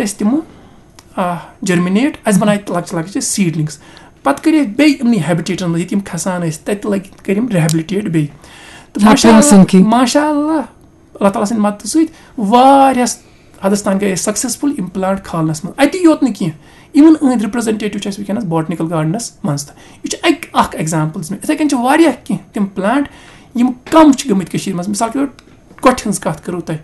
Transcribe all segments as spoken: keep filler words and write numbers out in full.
اَسہِ تِمہٕ جٔرمِنیٹ، اَسہِ بَنایہِ لۄکچہِ لۄکچہِ سیٖڈلِنٛگٕس۔ پَتہٕ کٔرۍ اَسہِ بیٚیہِ یِمنٕے ہیبِٹیٹَن منٛز، ییٚتہِ یِم کھَسان ٲسۍ، تَتہِ لٲگۍ، کٔرۍ یِم ریہبلِٹیٹ بیٚیہِ۔ تہٕ ماشاء اللہ، ماشاء اللہ، اللہ تعالیٰ سٕنٛدِ مدتہٕ سۭتۍ واریاہَس حدس تام گٔے أسۍ سکسیسفل یِم پلانٹ کھالنس منٛز۔ اتی یوت نہٕ کینٛہہ، even أہٕنٛدۍ ریپرزنٹیٹیو چھِ اَسہِ وٕنکیٚنَس بوٹنیکل گارڈنس منٛز تہِ۔ یہِ چھُ اَکہِ، اَکھ ایگزامپل دِژ مےٚ۔ یِتھَے کٔنۍ چھِ واریاہ کینٛہہ تِم پلانٹ یِم کم چھِ گٔمٕتۍ کٔشیٖرِ منٛز۔ مثال کے طور، کۄٹھِ ہٕنٛز کَتھ کٔرٕو تۄہہِ،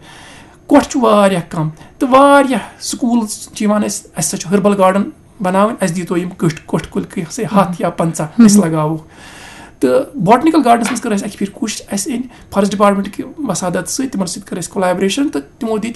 کۄٹھ چھُ واریاہ کم، تہٕ واریاہ سکوٗل چھِ یِوان اَسہِ، اَسہِ سا چھُ ہربل گارڈن بناوٕنۍ، اَسہِ دیٖتو یِم کٔٹھۍ، کۄٹھۍ کُلۍ کینٛہہ، سا ہَتھ یا پنٛژاہ أسۍ لگاوو۔ تہٕ بوٹنیکل گارڈنس منٛز کٔر اَسہِ اَکہِ پھِرِ کوٗشِش، اَسہِ أنۍ فارسٹ ڈپارٹمنٹ کہِ وسادت سۭتۍ، تِمن سۭتۍ کٔر اَسہِ کولابریشن، تہٕ تِمو دِتۍ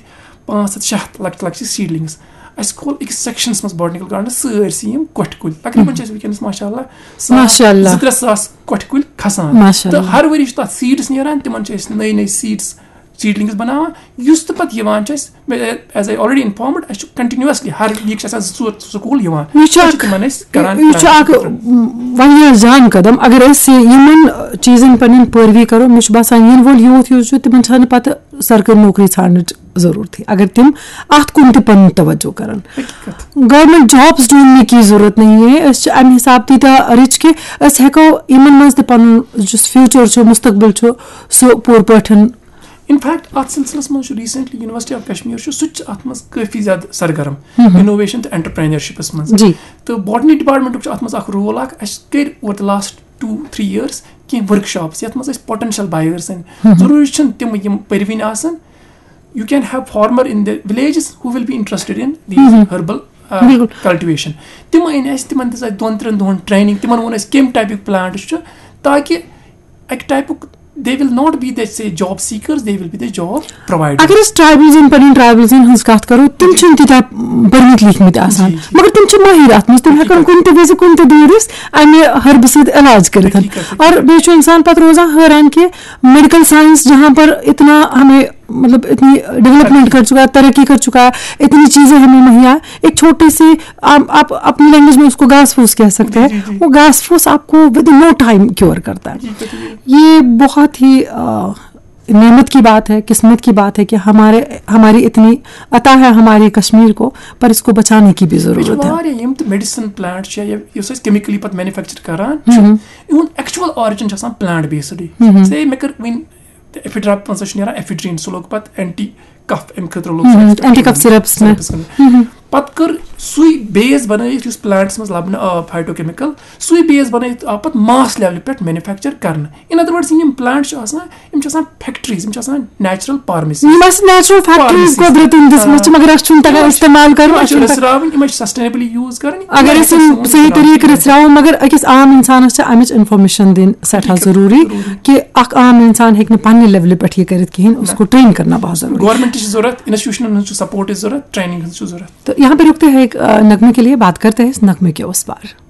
پانٛژھ ہَتھ شےٚ ہَتھ لۄکچہِ لۄکچہِ سیٖڈلِنگٕس۔ اَسہِ کھول أکِس سیکشنس منٛز بوٹنیکل گارڈنس سٲرسٕے یِم کۄٹھۍ کُلۍ۔ تقریٖباً چھِ اَسہِ وٕنکیٚنَس ماشاء اللہ ساس، ماشاء اللہ۔ زٕ ترٛےٚ ساس کۄٹھۍ کُلۍ کھسان۔ ماشاء تہٕ اللہ۔ ہر ؤری چھِ تَتھ سیٖڈٕس نیران، تِمن چھِ أسۍ نٔے نٔے سیٖڈٕس، سیٖڈلِنگٕس بناوان۔ یُس تہٕ پَتہٕ یِوان چھُ اَسہِ، as I already informed، اَسہِ چھُ continuously ہر week چھِ آسان زٕ ژور سکوٗل یِوان۔ یہِ چھُ پَتہٕ چھِ اکھ، تِمن أسۍ کران یہِ چھُ اکھ، پرٛٮ۪تھ م، واریاہ جان قدم۔ اگر أسۍ یہِ، یِمن چیٖزن پنٕنۍ پٲروی کرو، مےٚ چھُ باسان، یِنہٕ وول یوٗتھ یُس چھُ، تِمن چھَنہٕ پَتہٕ سرکٲرۍ نوکری ژھانڈنٕچ ضروٗرتھٕے، اگر تِم اَتھ کُن تہِ پنُن توجہ کرن۔ حقیٖقت۔ گورنمنٹ جابس ڈھونڈنے کی ضرورت نہیں ہے، أسۍ چھِ اَمہِ حساب تیٖتیٛاہ رِچ کہِ أسۍ ہٮ۪کو یِمن منٛز تہِ پنُن یُس فیوٗچر چھُ، مستقبل چھُ، سُہ پوٗرٕ پٲٹھۍ۔ In fact، اَتھ سلسلس منٛز چھُ recently University of Kashmir چھُ، سُہ تہِ چھُ اَتھ منٛز کٲفی زیادٕ سرگرم، ہم۔ انوویشن تہٕ انٹرپرینرشپس منٛز۔ جی۔ تہٕ بوٹنی ڈپارٹمنٹُک چھُ اَتھ منٛز اکھ رول اکھ۔ اَسہِ کٔرۍ over the last two three years کینٛہہ ورک شاپس، یَتھ منٛز أسۍ پوٹینشل بایرسن، ہم۔ ضروٗری چھُنہٕ تِم یِم پٔرۍوٕنۍ آسن، you can have farmer in the villages who will be interested in these Hum. Herbal, آ، بِلکُل۔ کلٹیویشن۔ تِم أنۍ اَسہِ، تِمن دِژ اَسہِ دۄن ترٛٮ۪ن دۄہن ٹریننگ، تِمن ووٚن اَسہِ کمہِ ٹایپٕکۍ پلانٹس چھُ، تاکہِ اَکہِ ٹایپُک they will not be the say job seekers, they will be the job providers۔ اگر أسۍ ٹرائبلزن، پنٕنۍ ٹرائبلزن ہٕنٛز کتھ کرو، تِم چھِنہٕ تیٖتیٛاہ پٔرمٕتۍ لیکھمٕتۍ آسان، جی، جی۔ مگر تِم چھِ مٲہِر اتھ منٛز، تِم ہٮ۪کن حقیٖقت۔ کُنہِ تہِ وِزِ کُنہِ تہِ دٲیرس امہِ ہربہٕ سۭتۍ علاج کٔرِتھ۔ حقیٖقت، حقیٖقت۔ اور بیٚیہِ چھُ انسان پتہٕ روزان حٲران کہِ میڈیکل سائنس جہاں پر اتنا ہمیں، مطلب، اتنی ڈیولپمنٹ کر چکا ہے، ترقی کر چکا ہے، اتنی چیزیں ہمیں مہیا، ایک چھوٹے سے، آپ، آپ اپنی لینگویج میں اس کو گھاس پھوس کہہ سکتے ہیں، جی، جی، جی۔ وہ گھاس پھوس آپ کو within no time cure کرتا ہے۔ جی، جی، جی۔ یہ بہت ہی، آ، نعمت کی بات ہے، قسمت کی بات ہے کہ ہمارے، ہماری اتنی عطا ہے ہماری کشمیر کو، پر اس کو بچانے کی بھی بیٚیہِ چھِ ضرورت ہے۔ واریاہ یِم تہِ میڈیسن پلانٹ چھِ یا یُس أسۍ کیمکلی پتہٕ مینوفیکچر کران چھِ، ہم۔ یِہُنٛد ایکچوئل آرجن چھِ آسان پلانٹ بیسڈٕے۔ ہم۔ سے مےٚ کٔر وٕنۍ ایفیڈرا، پانٛژھ چھُ نیران ایفیڈرین، سُہ لوٚگ پتہٕ اینٹی کف، امہِ خٲطرٕ لوٚگ سُہ ہم، ایکسٹرا اینٹی کف سِرپس منٛز۔ سِرپس منٛز۔ ہم۔ پتہٕ کٔر سُے بیس بنٲیِتھ یُس پلانٹس منٛز لبنہٕ آو، فایٹو کیمکل، سُے بیس بنٲیِتھ آو پتہٕ ماس لیولہِ پٮ۪ٹھ مینوفیکچر کرنہٕ۔ In other words، یِم پلانٹ چھِ آسان، یِم چھِ آسان فیکٹریز، یِم چھِ آسان نیچرل فارمیسی۔ یِم آسہِ نیچرل فیکٹریز فارمیسی۔ قۄدرتن دِژمٕژ چھِ، آ۔ مگر اَسہِ چھُنہٕ تگان استعمال کرُن، یِم اَسہِ چھِ چھُنہٕ تگان۔ رٔژھراوٕنۍ، یِم چھِ سسٹینیبلی یوٗز کرٕنۍ، اگر یِم أسۍ چھِ یِم سون صحیح استعمال طریٖقہٕ کرٕنۍ۔ رٔژھراوو، مگر أکِس عام انسانس چھِ امِچ انفارمیشن دِنۍ سٮ۪ٹھاہ ضروٗری، ضروٗری۔ کہِ اکھ عام انسان ہیٚکہِ نہٕ پننہِ لیولہِ پٮ۪ٹھ یہِ کٔرِتھ کِہیٖنۍ، اس نہ۔ کو ٹرین کرنا بہت ضروٗری۔ گورنمنٹ تہِ چھِ ضروٗرت، انسٹیٹیوشنن ہٕنٛز چھِ سپورٹٕچ ضروٗرت، ٹریننگ ہٕنٛز چھِ ضروٗرت۔ تہٕ یہاں پہ رکتے ہیں ایک، آ، نغمے کے لیے، بات کرتے ہیں اس نغمے کے اس پار۔